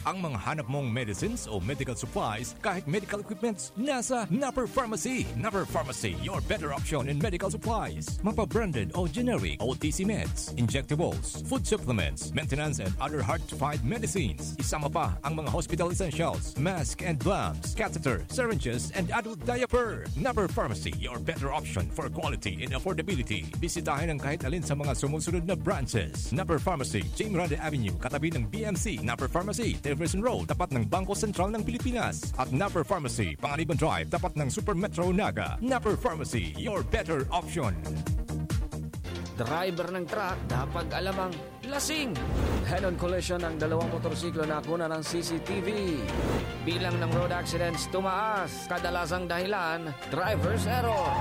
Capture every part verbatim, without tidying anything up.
Ang mga hanap mong medicines o medical supplies, kahit medical equipments, nasa Napper Pharmacy. Napper Pharmacy, your better option in medical supplies. Mapa-branded o generic, O T C meds, injectables, food supplements, maintenance and other hard-to-find medicines. Isama pa ang mga hospital essentials, mask and gloves, catheter, syringes, and adult diaper. Napper Pharmacy, your better option for quality and affordability. Bisitahin ang kahit alin sa mga sumusunod na branches. Napper Pharmacy, Jing Grande Avenue, katabi ng B M C. Napper Pharmacy, Jefferson Road, tapat ng Bangko Sentral ng Pilipinas. At Napper Pharmacy, Panganiban Drive, tapat ng Super Metro Naga. Napper Pharmacy, your better option. Driver ng truck, dapat alamang lasing. Head-on collision ng dalawang motorsiklo na kuna ng C C T V. Bilang ng road accidents tumaas, kadalasang dahilan, driver's error.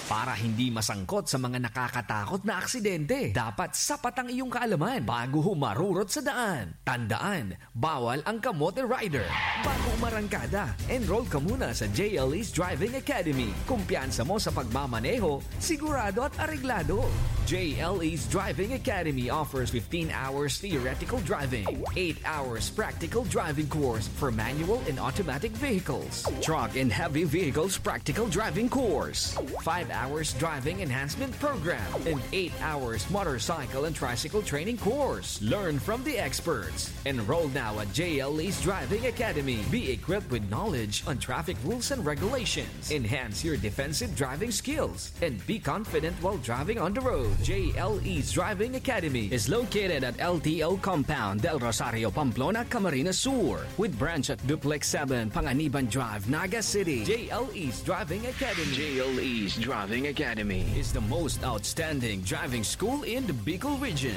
Para hindi masangkot sa mga nakakatakot na aksidente, dapat sapat ang iyong kaalaman bago humarurot sa daan. Tandaan, bawal ang kamote rider. Bago umarangkada, enroll ka muna sa J L E's Driving Academy. Kumpiyansa mo sa pagmamaneho, sigurado at areglado. J L E's Driving Academy offers fifteen hours theoretical driving, eight hours practical driving course for manual and automatic vehicles, truck and heavy vehicles practical driving course, five hours driving enhancement program, and eight hours motorcycle and tricycle training course. Learn from the experts. Enroll now at J L E's Driving Academy. Be equipped with knowledge on traffic rules and regulations. Enhance your defensive driving skills and be confident while driving on the road. J L E's Driving Academy is located at L T O Compound, Del Rosario, Pamplona, Camarines Sur, with branch at Duplex seven, Panganiban Drive, Naga City. J L E's Driving Academy. J L E's Driving Academy is the most outstanding driving school in the Bicol region.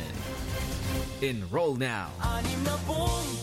Enroll now.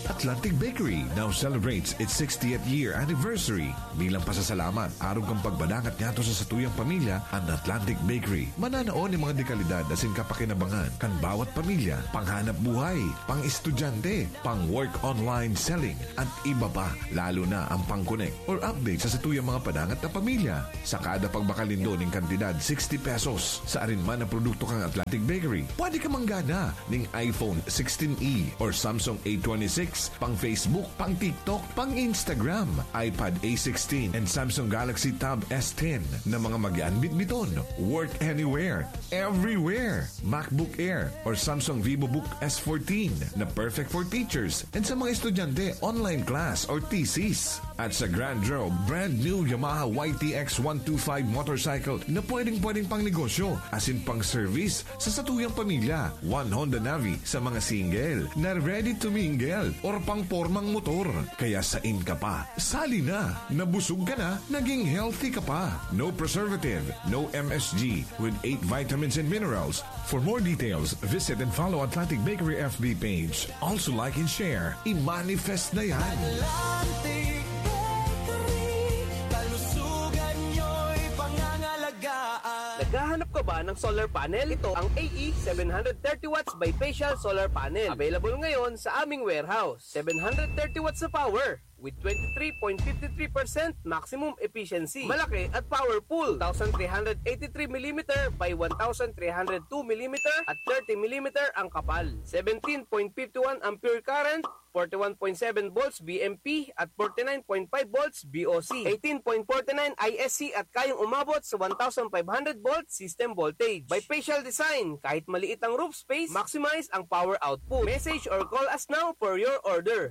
Atlantic Bakery now celebrates its sixtieth year anniversary. Bilang pasasalamat, arog kan pagbadangat ngadto sa satuyang pamilya, an Atlantic Bakery mananao nin mga dekalidad asin kapakinabangan kan bawat pamilya, panghanap buhay, pang-estudyante, pang-work online selling, at iba pa, lalo na ang pang-connect or update sa satuyang mga padangat na pamilya. Sa kada pagbakal nindo nin kantidad sixty pesos sa arin man na produkto kan Atlantic Bakery, pwede ka manggana ning iPhone sixteen E or Samsung A twenty-six, pang Facebook, pang TikTok, pang Instagram, iPad A sixteen, and Samsung Galaxy Tab S ten na mga magian bitbiton. Work anywhere, everywhere. MacBook Air or Samsung VivoBook S fourteen na perfect for teachers and sa mga estudyante, online class or thesis. At sa Grand Draw, brand new Yamaha Y T X one two five motorcycle na pwedeng-pwedeng pang negosyo, asin pang service sa satuyang pamilya. One Honda Navi sa mga single na ready to mingle or pang pormang motor. Kaya sain ka pa? Sali na! Nabusog ka na, naging healthy ka pa. No preservative, no M S G, with eight vitamins and minerals. For more details, visit and follow Atlantic Bakery F B page. Also like and share. I-manifest na yan! Atlantic Bakery, kalusugan nyo'y pangangalagaan. Naghahanap ka ba ng solar panel? Ito ang A E seven hundred thirty watts bifacial solar panel. Available ngayon sa aming warehouse. Seven hundred thirty watts na power with twenty-three point five three percent maximum efficiency. Malaki at powerful. Two thousand three hundred eighty-three millimeter by one thousand three hundred two millimeter at thirty millimeter ang kapal. Seventeen point five one ampere current, forty-one point seven volts V M P at forty-nine point five volts V O C, eighteen point forty-nine I S C at kayang umabot sa one thousand five hundred volt system voltage. Bifacial design, kahit maliit ang roof space, maximize ang power output. Message or call us now for your order.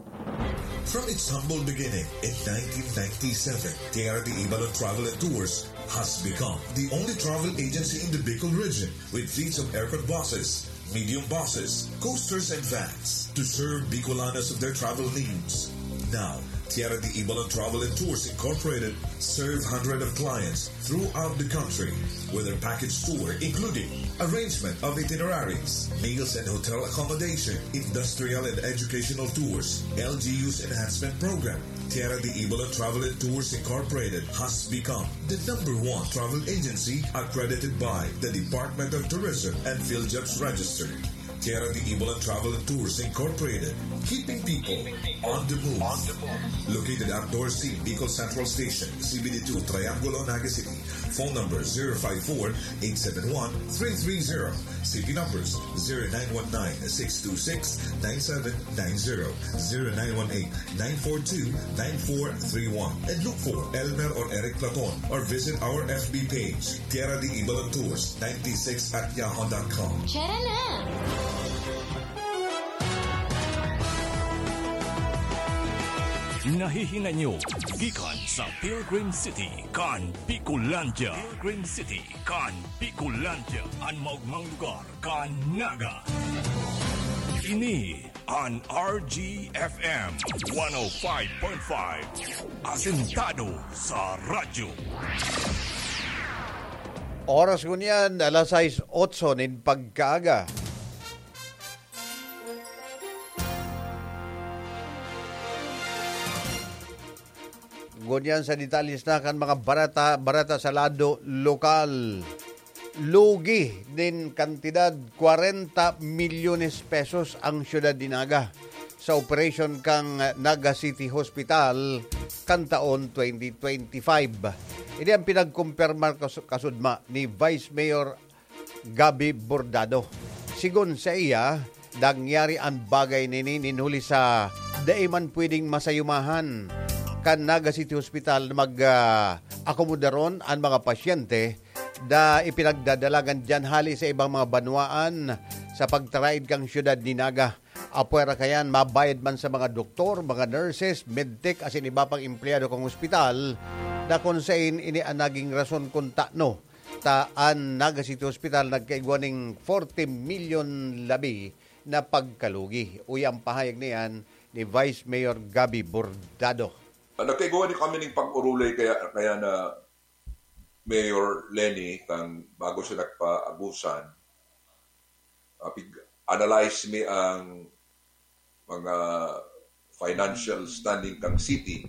From its humble beginning in nineteen ninety-seven, Tierra de Ibalon Travel and Tours has become the only travel agency in the Bicol region with fleets of aircon buses, medium buses, coasters, and vans to serve Bicolanos of their travel needs. Now, Tierra de Ibalon Travel and Tours Incorporated serve hundreds of clients throughout the country with their package tour, including arrangement of itineraries, meals and hotel accommodation, industrial and educational tours, L G U's enhancement program. Tierra de Ibalon Travel and Tours Incorporated has become the number one travel agency accredited by the Department of Tourism and PhilJobs Register. Tierra de Ibalon Travel and Tours Incorporated, keeping people on the move. Located at Dorsey, Bicol Central Station, C B D two, Triangulo, Naga City. Phone number zero five four, eight seven one, three three zero. C P numbers zero nine one nine, six two six, nine seven nine zero, zero nine one eight, nine four two, nine four three one. And look for Elmer or Eric Platon or visit our F B page, Tierra de Ibalan Tours ninety-six at yahoo dot com. Tara na! Nahihinay nyo gikan sa Pilgrim City kan Bicolandia. Pilgrim City kan Bicolandia, an maogmang lugar kan Naga. Ini an R G F M one oh five point five, asentado sa radyo. Oras ngunyan, alas sais otso nin pagkaaga. Ngunyan sa detalles na kan mga bareta, bareta sa lado lokal. Lugi nin kantidad kwarenta milyones pesos ang siyudad ni Naga sa operasyon kan Naga City Hospital kan taon twenty twenty-five. Ini ang pinagkumpirmar kas-, kasudma ni Vice Mayor Gabby Bordado. Sigon saiya, nangyari an bagay na ini nin huli sa dai man pwedeng masayumahan kan Naga City Hospital na mag, ah, akomodaron an mga pasyente na ipinagdadalagan diyan hali sa ibang mga banwaan sa pagtaraid kan siyudad ni Naga. Apwera kayan, mabayad man sa mga doktor, mga nurses, medtech, asin iba pang empleyado kan ospital, na kun sain ini an naging rason kun tano ta an Naga City Hospital nagkaigwa nin forty milyon labi na pagkalugi. Uya ang pahayag na iyan ni Vice Mayor Gabby Bordado. Ah, nagkaigwa ni kami ning pag-orolay kaya, kaya na Mayor Leni, kang bago siya nagpaabusan, ah, pig-, analyze mi ang mga financial standing kang city.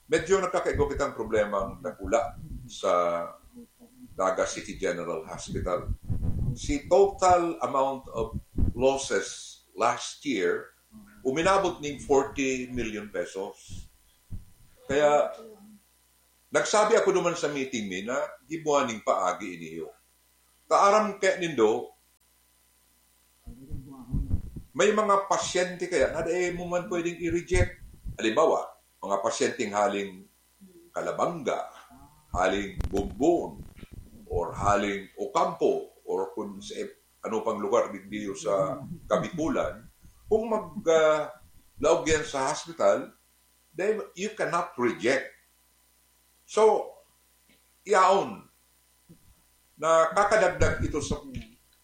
Medyo nagkakaigwa kitang problemang dakula sa Naga City General Hospital. Si total amount of losses last year, uminabot ning forty million pesos. Kaya, nagsabi ako duman sa meeting mi na gibuha ning paagi iniyo. Kaaram kaya nindo, may mga pasyente kaya na dai mo man pwedeng i-reject. Halimbawa, mga pasyenteng haling Calabanga, haling Bombon, or haling Ocampo, or kung sa ano pang lugar digdi sa Kabikulan, kung mag, ah, laog yan sa hospital, then you cannot reject. So, yaon, nakakadagdag ito sa,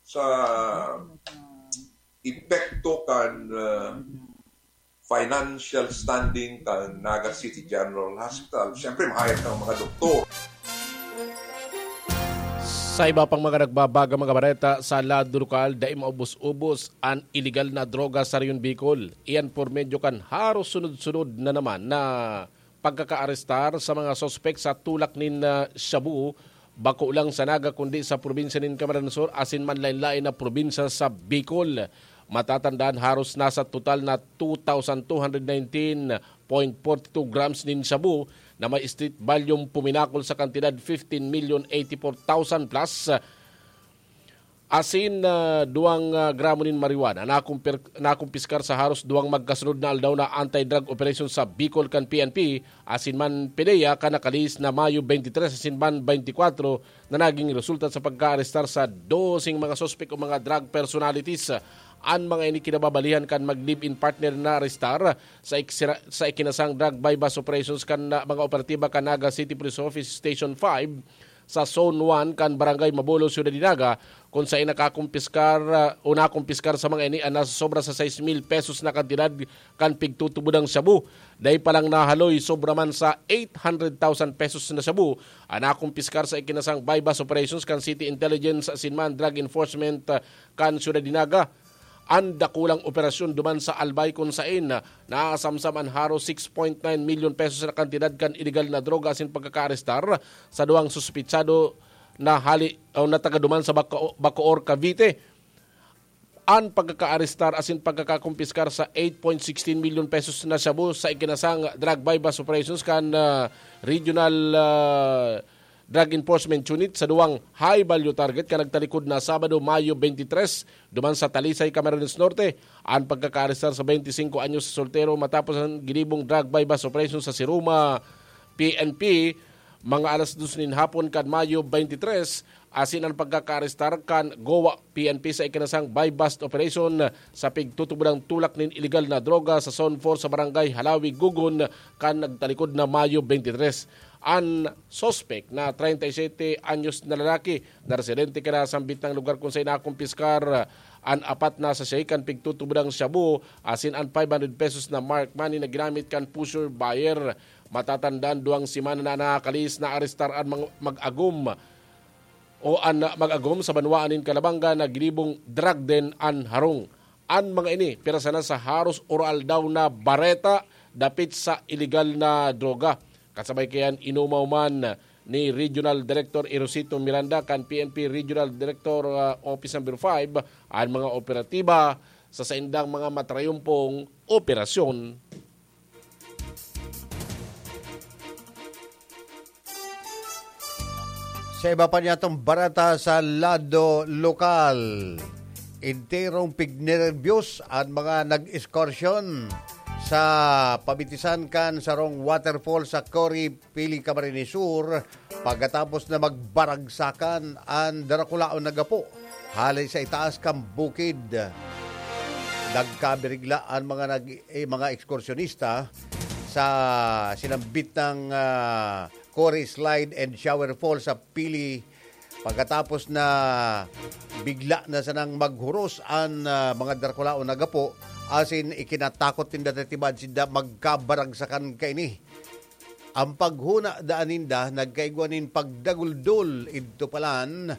sa epekto kan, ah, financial standing kan Naga City General Hospital. Siyempre, mahayag ng mga doktor. Sa iba pang mga nagbabaga mga bareta sa lado lokal, dai maubos-ubos an iligal na droga sa Rehiyon Bicol. Iyan por medyo kan haros sunod-sunod na naman na pagkakaarestar sa mga suspek sa tulak nin, ah, shabu, bako lang sa Naga kundi sa probinsya nin Camarines Sur asin manlain-lain na probinsya sa Bicol. Matatandaan, haros nasa total na two thousand two hundred nineteen point four two grams nin shabu na may street value puminakol sa kantidad fifteen million eighty-four thousand plus. Asin, ah, duwang, ah, gramo nin marijuana nakumpir-, nakumpiskar sa haros duwang magkasunod na aldaw na anti-drug operation sa Bicol kan P N P, asin man PDEA kan nakalihis na Mayo twenty-three asin man twenty-four na naging resulta sa pagkaarestar sa doseng mga suspek o mga drug personalities. An mga ini kinababalihan kan mag-live-in partner na arestar sa iksira-, sa ikinasang drug buy-bust operations kan, ah, mga operatiba kan Naga City Police Office Station five sa Zone one kan Barangay Mabolo, Ciudad de Naga, kun saen nakakumpiskar, ah, o nakumpiskar sa mga ini an nasosobra sa sais mil pesos na kantidad kan pigtutubodang shabu. Dai pa lang nahaloy, sobra man sa eight hundred thousand pesos na shabu an nakumpiskar sa ikinasang buy-bust operations kan City Intelligence asin man Drug Enforcement, ah, kan Ciudad de Naga. An dakulang operasyon duman sa Albay kun saen naasamsam an haros six point nine milyon pesos na kantidad kan iligal na droga asin pagkakaarestar sa duwang suspetsado na hali o na taga duman sa Baco-, Bacoor, Cavite. An pagkakaarestar asin pagkakakumpiskar sa eight point sixteen milyon pesos na shabu sa ikinasang drug buy-bust operations kan, ah, Regional, ah, Drug Enforcement Unit sa duwang high-value target kan nagtalikod na Sabado, Mayo twenty-three, duman sa Talisay, Camarines Norte, an pagkakaarestar sa twenty-singko anyos na soltero matapos an ginibong drug buy-bust operation sa Siruma P N P, mga alas dos nin hapon kan Mayo twenty-three, asin an pagkakaarestar kan Goa P N P sa ikinasang buy-bust operation sa pigtutubodang tulak nin iligal na droga sa Zone four sa Barangay Halawi, Gugon, kan nagtalikod na Mayo twenty-three. An suspek na treinta y siete anyos na lalaki na residente kan nasambit na lugar kun saen nakumpiskar an apat na sachet kan pigtutubodang shabu asin an five hundred pesos na marked money na ginamit kan pusher buyer. Matatandaan, duwang semana na nakakalihis na arestar an mga mag-agom o an mag-agom sa banwaan nin Calabanga na ginibong drug den an harong. An mga ini, pirasa na sa haros oro-aldaw na bareta dapit sa iligal na droga. Kasabay kaiyan, inumaw man ni Regional Director Erosito Miranda kan P N P Regional Director, ah, Office Number five, an mga operatiba sa saindang mga matrayumpong operasyon. Sa iba pa niyatong bareta sa lado lokal, enterong pignerbiyos an mga nag-eskorsyon sa pamitisan kan sarong waterfall sa Cory, Pili, Camarines Sur, pagkatapos na magbaragsakan an darakulaon na gapo hale sa itaas kan bukid. Nagkabirigla an mga nag-, eh, mga ekskursyonista sa sinambit ng, ah, Cory Slide and Shower Fall sa Pili, pagkatapos na bigla na sanang maghuros an, ah, mga darakulaon na gapo, asin ikinatakot ninda ta tibaad sinda magkabaragsakan kaini. Ang paghona daan ninda nagkaigwa nin pagdaguldol idto palan.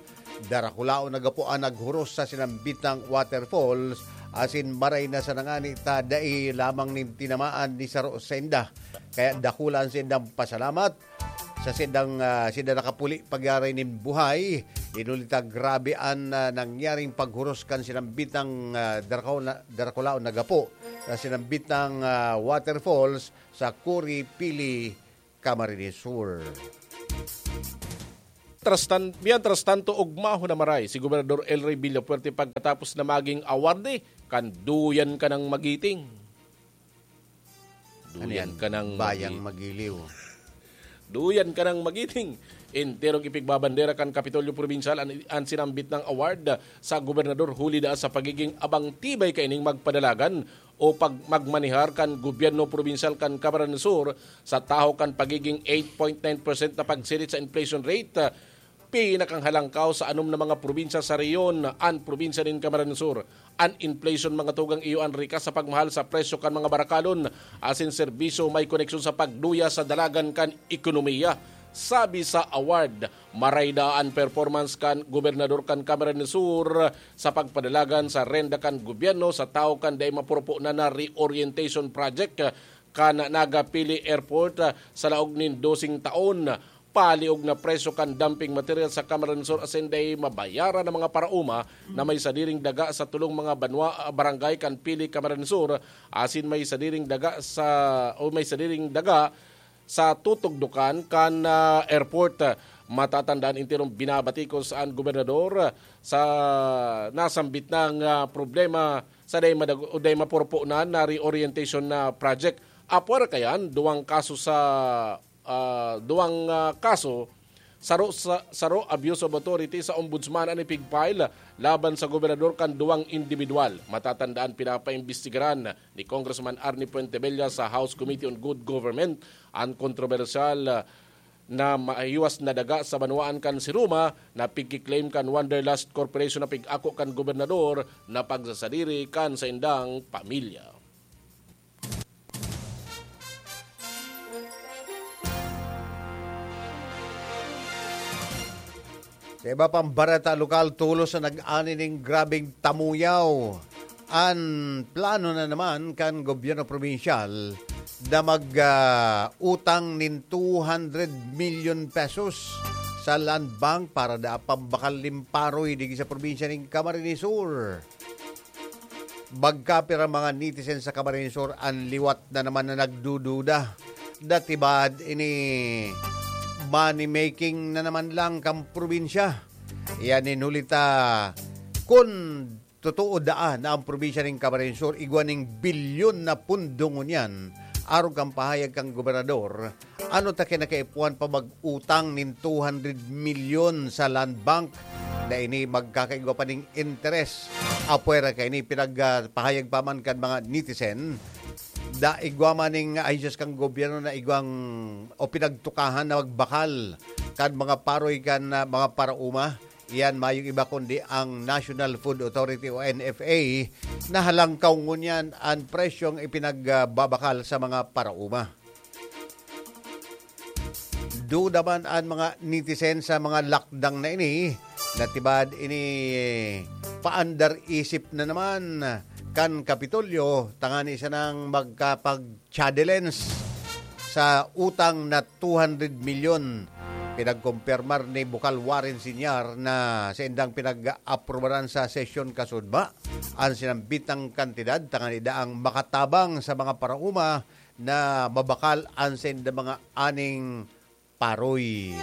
Darakulaon na gapo an naghuros sa sinambitang waterfalls, asin maray na sana ngani ta dai lamang nin tinamaan ni saro sainda. Kaya dakula an saindang pasalamat sa saindang, ah, sinda nakapuli pagyaray nin buhay. Inuli ta grabe an, ah, nangyaring paghuros kan sinambitang, ah, darakula-, darakulaon na gapo sa sinambitang, ah, waterfalls sa Cory, Pili, Camarines Sur. Mientras tanto, ugmahon na maray si Gobernador El Rey Villafuerte pagkatapos na maging awarde kan Duyan Ka Nang Magiting. Ano yan? Duyan Ka Nang Bayang Magiting. Magiliw. Duyan Ka Nang Magiting. Enterong ipigbabandera kan Kapitolyo Probinsyal an, an sinambit na award sa gobernador huli daa sa pagiging abang tibay kaining magpadalagan o pag-, magmanehar kan gobyerno probinsyal kan Camarines Sur sa tahaw kan pagiging eight point nine percent na pagsirit sa inflation rate, ah, pinakanghalangkaw sa anom na mga probinsya sa rehiyon an probinsya nin Camarines Sur. An inflation, mga tugang, iyo an rikas sa pagmahal sa presyo kan mga barakalon asin serbisyo may koneksyon sa pagduya sa dalagan kan ekonomiya. Sabi sa award, maray daa an performance kan gobernador kan Camarines Sur sa pagpadalagan sa renda kan gobyerno sa tawo kan dai mapurupo na na reorientation project kan Naga Pili Airport, ah, sa laog nin doseng taon. Paliog na presyo kan dumping material sa Camarines Sur asin dai mabayaran ang mga paraoma na may sadiring daga sa tulong mga banwa, ah, barangay kan Pili, Camarines Sur, asin may sadiring daga sa, o may sadiring daga sa tutugdokan kan, ah, airport. Matatandaan, enterong binabatikos an gobernador sa nasambit na nga problema sa dai madag-, o dai mapurupo na na reorientation na project. Apwera kayan, duwang kaso sa, ah, duwang, ah, kaso, saro sa, saro abuse of authority sa ombudsman an ipig-file laban sa gobernador kan duwang indibidwal. Matatandaan, pinapaimbestigaran ni Congressman Arnie Fuentebella sa House Committee on Good Government an kontrobersyal, ah, na mahiwas na daga sa banwaan kan Siruma na pigki-claim kan Wanderlust Corporation na pig-ako kan gobernador na pagsasadiri kan saindang pamilya. Sa iba pang bareta lokal, tolos na nag-ani nin grabeng tamuyaw an plano na naman kan gobyerno probinsyal na mag, ah, utang nin two hundred million pesos sa Land Bank para da pambakal nin paroy digdi sa probinsya nin Camarines Sur. Magkapira mga netizen sa Camarines Sur an liwat na naman na nagdududa. Dati ba ini money making na naman lang kan probinsya. Iyan nin huli ta kun totoo daa na ang probinsya nin Camarines Sur igwa ning bilyon na pundo ngunyan, arog kan pahayag kan gobernador, ano ta kinakaipuhan pa mag-utang nin two hundred milyon sa Land Bank na ini magkakaigwa pa ning interes? Apwera kaini, pinagpahayag pa man kan mga netizen, da igwa man ning ahensyas kan gobyerno na igwang o pinagtukahan na magbakal kan mga paroy kan, ah, mga parauma. Iyan mayong iba kundi ang National Food Authority o N F A na halangkaw ngunyan an presyong ipinagbabakal sa mga parauma. Duda man an mga netizen sa mga lakdang na ini, natibad ini paandar isip na naman kan Kapitolyo tangani sanang magkapag-challenge sa utang na two hundred milyon. Pinagkumpirmar ni Bukal Warren Senior na saindang pinag-aprobaran sa sesyon kasudma an sinambitang kantidad tangani daang makatabang sa mga parauma na mabakal an saindang mga aning paroy.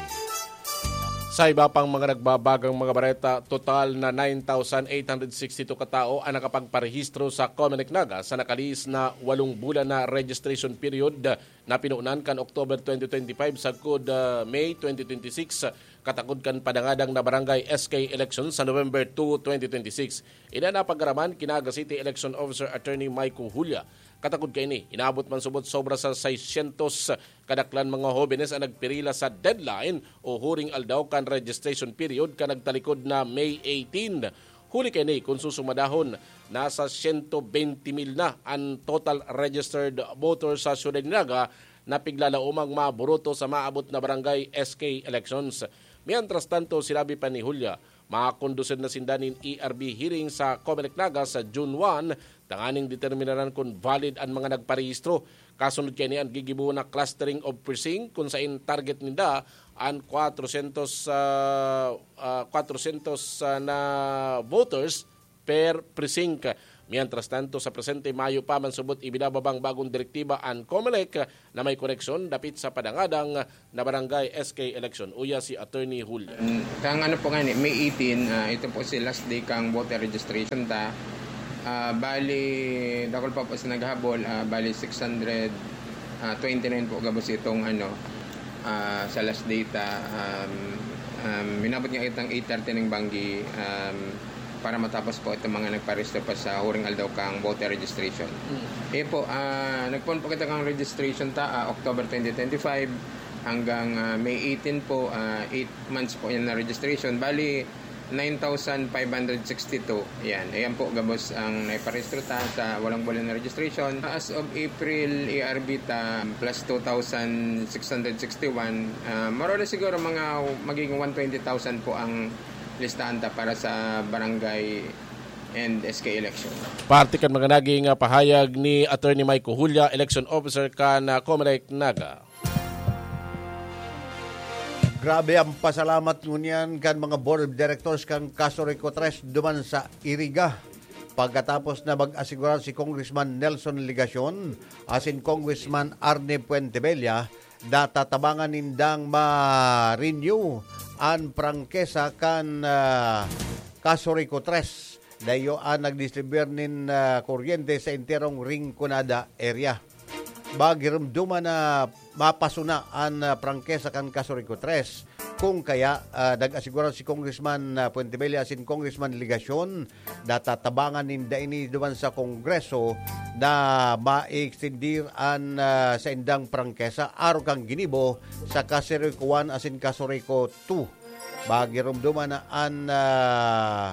Sa iba pang mga nagbabagang mga bareta, total na nine thousand eight hundred sixty two katao ang nakapagparehistro sa Comelec Naga sa nakalihis na walong bulan na registration period na pinunan kan October twenty twenty-five sagkod, ah, May twenty twenty-six, katakod kan padangadang na barangay S K election sa November two, twenty twenty-six. Ini an napag-araman ki Naga City Election Officer Attorney Mike Hulia. Katakod kaini, inabot man subot sobra sa seiscientos kadaklan mga hobenes ang nagpirila sa deadline o huring aldaw kan registration period kan nagtalikod na May eighteen. Huli kaini, kun susumadahon, nasa siyento bente mil na an total registered voters sa siyudad ni Naga na piglalaomang maburoto sa maabot na barangay S K elections. Mientras tanto, sinabi pa ni Julia, makakondusir na sinda nin E R B hearing sa Comelec Naga sa June one, tanganing determinaran kun valid an mga nagparehistro. Kasunod kaini an gigibo na clustering of precinct, kun sain target ninda an kwatrosyentos, ah, ah, kwatrosyentos, ah, na voters per precinct. Mientras tanto, sa presente, mayo pa man subot ibinababang bagong direktiba an Comelec na may koneksyon dapit sa padangadang na barangay S K election. Uya si Attorney Julio. Kang ano po nga ni, May eighteen, ah, ito po si last day kang voter registration ta. Ah, bali, dakul pa po sa naghahabol, ah, bali six hundred, ah, twenty-nine po gabos itong ano, ah, sa last data. Um, um, minabot nga itang eight thirty ng banggi, um, para matapos po itong mga nagparehistro pa sa huring aldaw kang voter registration. Mm. Eh po, ah, nagpon po kita kang registration ta, ah, October twenty twenty-five hanggang, ah, May eighteen po, ah, eight months po yan na registration. Bali, nine thousand five hundred sixty-two. Yan. Ayan po, gabos ang naiparehistro ta sa walang bulan na registration. As of April, A R B ta, plus two thousand six hundred sixty-one. Ah, more or less siguro mga magiging one twenty thousand po ang listahan ta para sa barangay and S K election. Parte kan mga naging, ah, pahayag ni Attorney Mike Hulia, election officer kan, ah, Comelec Naga. Grabe ang pasalamat ngunyan kan mga board of directors kan Casureco Tres duman sa Iriga. Pagkatapos na mag-asigurar si Congressman Nelson Legacion asin Congressman Arne Fuentebella, natatabangan nindang ma-renew an prangkesa kan, ah, Casureco Tres. Dayo an nagdistribuir nin, ah, kuryente sa enterong Rinconada area. Magirumduman na mapasuna an, ah, prangkesa kan Casureco Tres. Kung kaya, ah, nag-asigurar si Congressman, ah, Fuentebella asin Congressman Legacion, natatabangan ninda ini duman sa Kongreso na ma-extendir an, ah, saindang prangkesa arog kan ginibo sa Casureco One asin Casureco Two. Magirumduman na an, ah,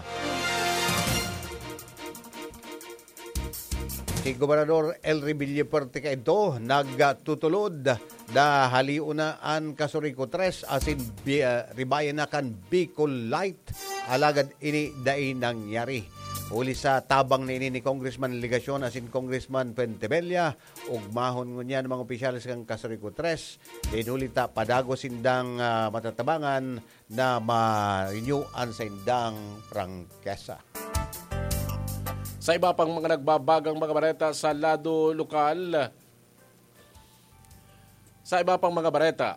si Gobernador Elry Villafuerte kaidto nagtutulod na halion na an Casureco Tres asin bi-, ah, ribayan na kan Bicol Light. Alagad ini dai nangyari. Huli sa tabang na ini ni Congressman Legacion asin Congressman Fuentebella, ugmahon ngunyan mga opisyales kan Casureco Tres. Dinuli ta padagos sindang, ah, matatabangan na ma-renew an saindang prangkesa. Sa iba pang mga nagbabagang mga bareta sa lado lokal, sa iba pang mga bareta,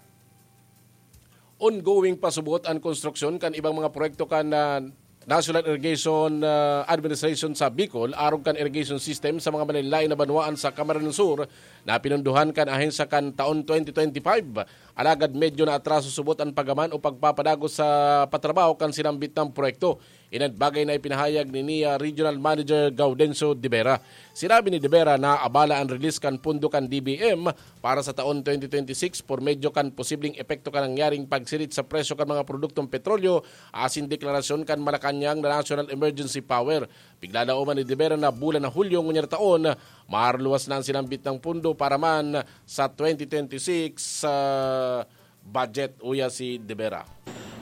Ongoing pa subot an konstruksyon kan ibang mga proyekto kan, ah, National Irrigation, ah, Administration sa Bicol arog kan irrigation system sa mga malain-lain na banwaan sa Camarines Sur na pinunduhan kan ahensya kan taon twenty twenty-five. Alagad medyo naatraso subot an pagaman o pagpapadagos sa patrabaho kan sinambit na proyekto. Iyan an bagay na ipinahayag ni, ni, ah, Regional Manager Gaudencio De Vera. Sinabi ni De Vera na abala an release kan pondo kan D B M para sa taon twenty twenty-six por medyo kan posibleng epekto kan nangyaring pagsirit sa presyo kan mga produktong petrolyo asin deklarasyon kan Malacañang na National Emergency Power. Pigdadaoman ni De Vera na bulan na Hulyo ngunyan na taon, maluwas na an sinambit na pondo para man sa twenty twenty-six, ah, budget, uya si De Vera.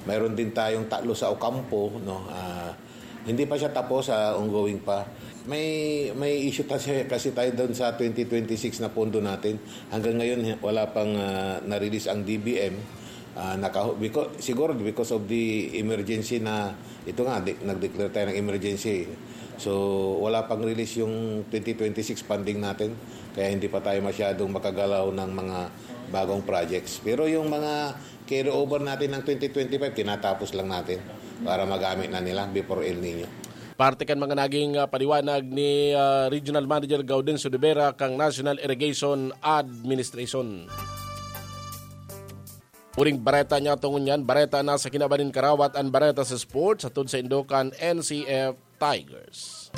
Mayroon din tayong tatlo sa Ocampo, no? Ah, hindi pa siya tapos, ah, ongoing pa. May, may issue ta-, siya kasi tayo doon sa twenty twenty-six na pondo natin. Hanggang ngayon, wala pang, ah, na-release ang D B M. Ah, naka-, because, siguro because of the emergency na, ito nga, di-, nag-declare tayo ng emergency. So, wala pang release yung twenty twenty-six funding natin. Kaya hindi pa tayo masyadong makagalaw ng mga bagong projects. Pero yung mga carry over natin ng twenty twenty-five, tinatapos lang natin para magamit na nila before El Nino. Parte kan mga naging, ah, paliwanag ni, ah, Regional Manager Gaudencio De Vera kan National Irrigation Administration. Uring bareta niya tungon yan, bareta na sa kinaban nin karawat an bareta sa sports, hatod sa indo kan N C F Tigers.